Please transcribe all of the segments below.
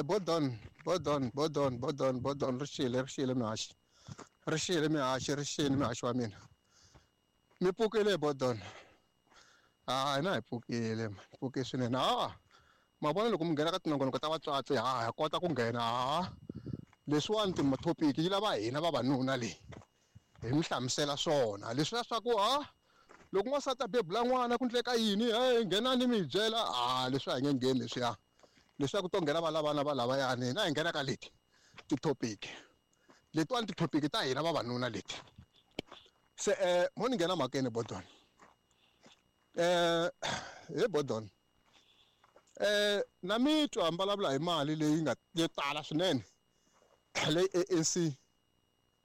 Bodon, Bodon, Bodon, Bodon, Bodon, ri xile, ri xile mihaxi. Ri xile mihaxi, ri xile mihaxi wa mina. Mi pfukile Bodon. Ha hina hi pfukile, hi pfuke swinene. Ha ma vona loko mi nghena ka tinongonoko ta vatswatsi ha ha kota ku nghena ha leswiwani ti-topic yi lava hina vavanuna leyi hi mi hlamusela swona leswiya swa ku ha loko n'wansati a bebula n'wana ku ndleka yini he nghenani mi hi byela ha leswi a hi nge ngheni leswiya leswaku to nghena valavana va lavayani hina hi nghena ka leti ti-topic letiwani ti-topic ta hina vavanuna leti se mo ni nghena mhakeni Bodon he Bodon na mi twa mi vulavula hi mali leyi nga yo tala swinene leyi ANC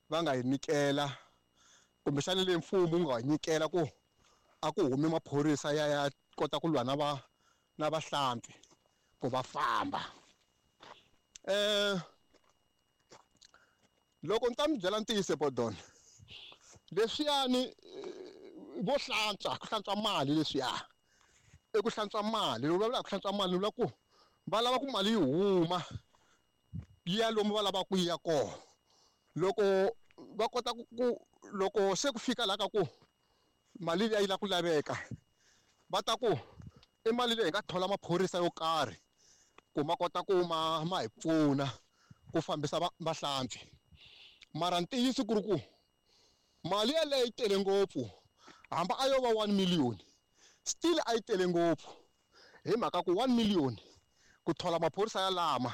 va nga yi nyikela kumbexana leyi mfumo wu nga yi nyikela ku a ku humi maphorisa ya ya kota ku lwa na va na vahlampfi ku va famba loko ni ta mi byela ntiyiso Bodon leswiyani vo hlantswa ku hlantswa mali leswiya i ku hlantswa mali loko vulavula hi ku hlantswa mali ni vula ku va lava ku mali yi huma yi ya lomu va lavaka ku yi ya kona loko va kota ku loko se ku fika laha ka ku mali liya yi lava ku laveka va ta ku i mali leyi hi nga thola maphorisa yo karhi ku ma kota ku ma ma hi pfuna ku fambisa vahlampfi mara ntiyiso ku ri ku mali yeleyo yi tele ngopfu hambi a yo va 1 million still a yi tele ngopfu hi mhaka ku 1 million ku thola maphorisa yalama